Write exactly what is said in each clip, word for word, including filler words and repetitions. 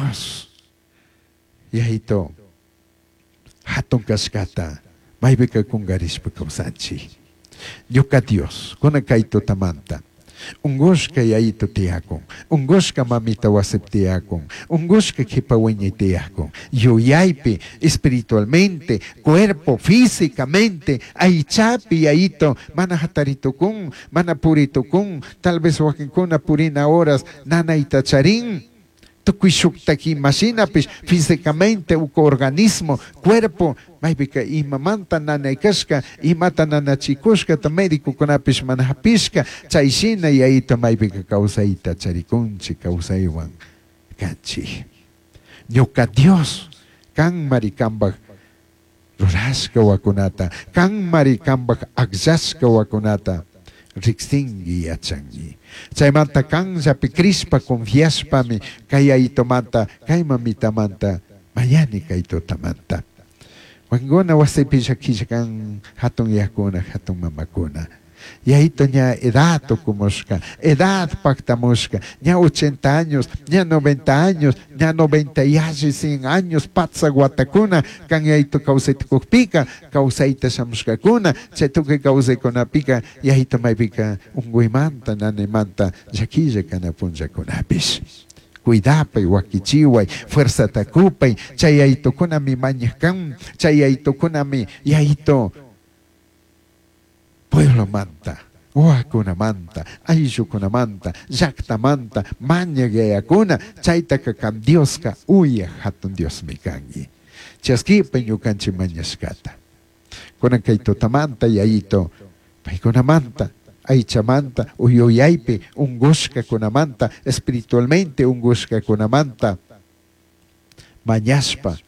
Dios Yaito hatun kashkata maypika kungarishpa kawsanchik. Ñuka Dios, kunan kay tutamanta ungushka yayito tiyakun, ungushka mamita wasipi tiyakun, ungushka kipa wiñay tiyakun, yuyaypi, espiritualmente, cuerpo, físicamente, aychapi yayito mana hataritukun, mana puritukun, tal vez wakinkuna purina horas nanayta charin, tukuy shuktak imashinapish físicamente uku organismo, cuerpo, maypika imamanta nanay kashka, imata nanachikushkata médicokunapish mana hapishka, chay shina yayito maypika kawsayta charikunchik, kawsaywan kanchik. Ñuka Dios, kanmari kanpak rurashka wakunata, kanmari kanpak akllashka wakunata riksinki yachanki. Chaymanta kanllapi crishpa confiashpami kay yayitomanta, kay mamitamanta mañani kay tutamanta. Wakinkuna wasipi llakilla kan hatun yakuna, hatun mamakuna. Yayito ña edad tukumushka, edad pactamushka, ña ochenta años, ña noventa años, ña noventa y alli cien años, patsa watakuna, kan yayito kawsaytukukpika, kawsayta shamushkakuna, chay tukuy kawsaykunapika, yayito maypika unkuymanta, nanaymanta, llakilla kana punllakunapish. Cuidapay, wakichiway, fuerzata kupay, chay yayitukunami mañaj kan, chay yayitukunami yayito pueblomanta, wawakunamanta, ayllukunamanta, llaktamanta, mañaj yayakuna, chaytaka kan Dioska uyaj hatun Diosmi kanki. Chaskipay ñukanchik mañashkata. Kunan kay tutamanta yayito, paykunamanta, aychamanta, uyuyaypi ungushkakunamanta, espiritualmente ungushkakunamanta, mañashpa,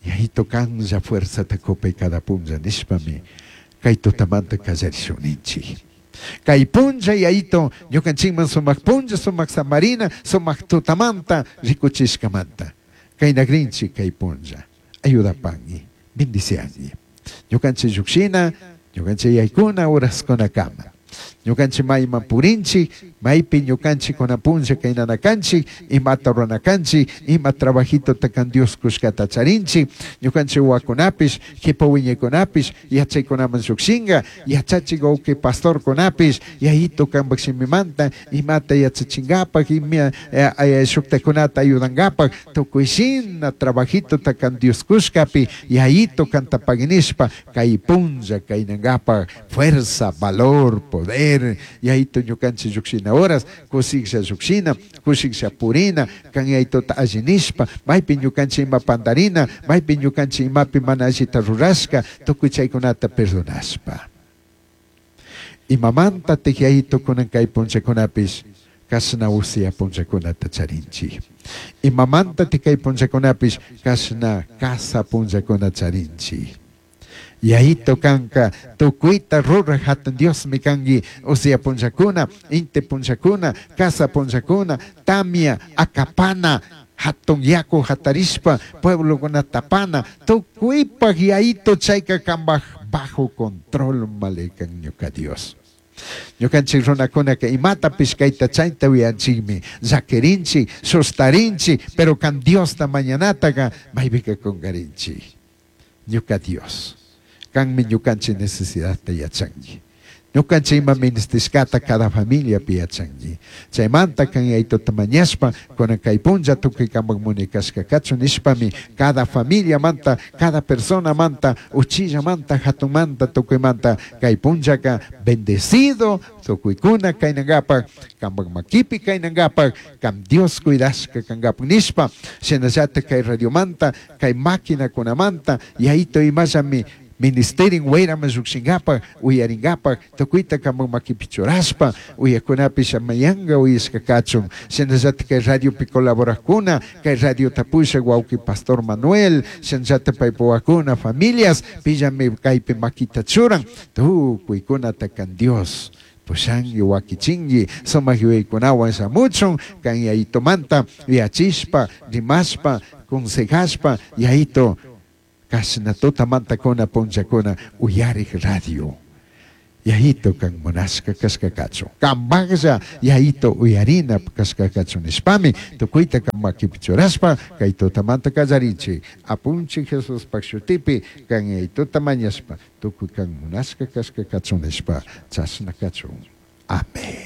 yayito kanlla fuerzata kupay cada punlla nishpami, kay tutamanta kallarishunninchik. Kay punlla yayito, ñukanchikman sumak punlla, sumak samarina, sumak tutamanta rikuchishkamanta. Kay nagrinchik kay punlla. Ayudapangi, bendiciangi. Ñukanchik llukshina, ñukanchik yaykuna horaskunakama. Ñukanchik mayman purinchik, maypi ñukanchik kuna punlla kaynana kanchik, imata rurana kanchik, ima trabajito kan Dios kushkata charinchik, ñukanchik wawakunapish, kipa wiñaykunapish, yachaykunaman llukshinka, yachachik wawqi pastorkunapish, yayito kanpak shimimanta, imata yachachinkapak, ima, eh, eh, shuktakunata ayudankapak, tukuy shina trabajito kan Dios kushkapi, yayito kanta paginishpa, kay punlla kaynankapak, fuerza, valor, poder, yayito ñukanchik llukshina horas, kushiklla llukshina, kushiklla purina, kan yayitota alli nishpa, maypi ñukanchik ima pandarina, maypi ñukanchik imapi mana allita rurashka, tukuy chaykunata perdonashpa. Imamanta tik yayito kunan kay punllakunapish, kashna usia punllakunata charinchik. Imamanta tik kay punllakunapish, kashna kasa punllakuna charinchik. Yayito kanka tukuyta ruraj hatun Diosmi kanki, usia punllakuna, inti punllakuna, kasa punllakuna, tamia, akapana, hatun yaku hatarishpa, pueblokuna tapana, tukuypaj yayito chayka kanpaj bajo control malekan ñuka Dios. Ñukanchik runakunaka imatapish kayta chayta uyanchikmi, llakirinchik, sustarinchik, pero kan Diosta mañanataka maypika kunkarinchik. Ñuka Dios, kanmi ñukanchik necesidadta yachanki. Ñukanchik ima ministishkata cada familiapi yachanki. Chaymanta kan yayituta mañashpa, kunan kay punlla tukuy kanpak munikashka kachun nishpami, cada familiamanta, cada personamanta, uchillamanta, hatunmanta, tukuymanta, kay punllaka bendecido, tukuykuna kaynankapak, kanpak makipi kaynankapak, kan Dios cuidashka kankapak nishpa, shinallatak kay radiomanta, kay maquinakunamanta, yayito imallami ministerin wayraman llukshinkapak, uyarinkapak, tukuyta kanpak makipi churashpa, uyakunapish amayanga uyashka kachun. Shinallatak kay radiopi colaborakuna, kay radiota pushak wawqi Pastor Manuel, shinallatak paypa wawakuna, familias, pillami kaypi makita churan, tukuykunata kan Dios pushanki, wakichinki, sumak yuyaykunawan shamuchun, kan yayitomanta yachishpa, rimashpa, consejashpa, yayito kashna tutamanta kuna punllakuna uyarik radio. Yayito kan munashka kashka kachun. Kambaklla yayito uyarina kashka kachun nishpami tukuyta kan makipi churashpa kay tutamanta kallarinchik. Apunchik Jesuspaj shutipi kan yayituta mañashpa tukuy kan munashka kashka kachun nishpa chashna kachun. Amén.